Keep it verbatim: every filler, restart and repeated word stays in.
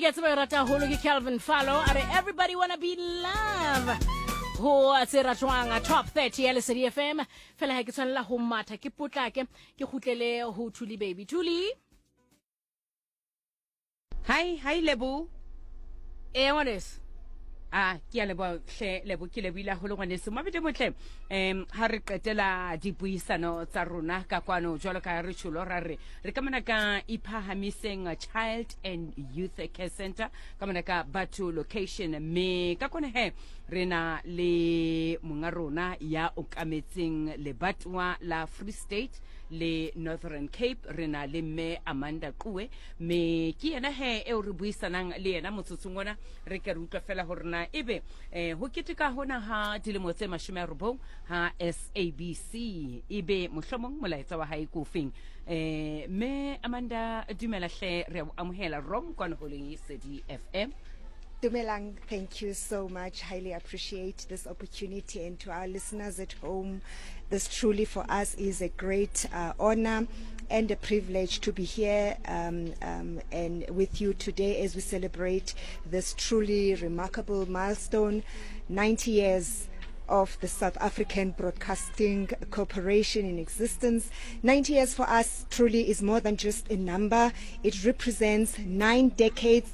Ke a tseba e rata haholo, ke Calvin Fallo, a re "Everybody Wanna Be Love" ho tse ratwang Top thirty ya Lesedi F M. Fela ha ke tshwanela ho matha, ke potlake, ke kgutlele ho Thuli Baby. Thuli. Hi, hi Lebo. Ee, ngwaneso. A ke a leboha hle Lebo, ke lebohile haholo ngwaneso. Mabedi motle, um ha re qetela dipuisano tsa rona ka kwano, jwalo ka re tjholo, ra re re ka mona ka Iphahamiseng Child and Youth Care Center, ka mona ka Batho location, mme ka kone he re na le monga rona ya okametseng lebatowa la Free State le Northern Cape. Re na le mme Amanda Quwe, mme ke yena he eo re buisanang le yena motsotsong ona. Re ke re utlwa fela hore na ebe eh, ho keteka hona ha dilemo tse mashome a robong ha S A B C, ebe mohlomong molaetsa wa hae ko feng. eh mme Amanda, dumela hle, re a o amohela rom kwano ho Lesedi F M. Dumelang, thank you so much. Highly appreciate this opportunity, and to our listeners at home, this truly for us is a great uh, honor and a privilege to be here um, um, and with you today as we celebrate this truly remarkable milestone, ninety years of the South African Broadcasting Corporation in existence. ninety years for us truly is more than just a number. It represents nine decades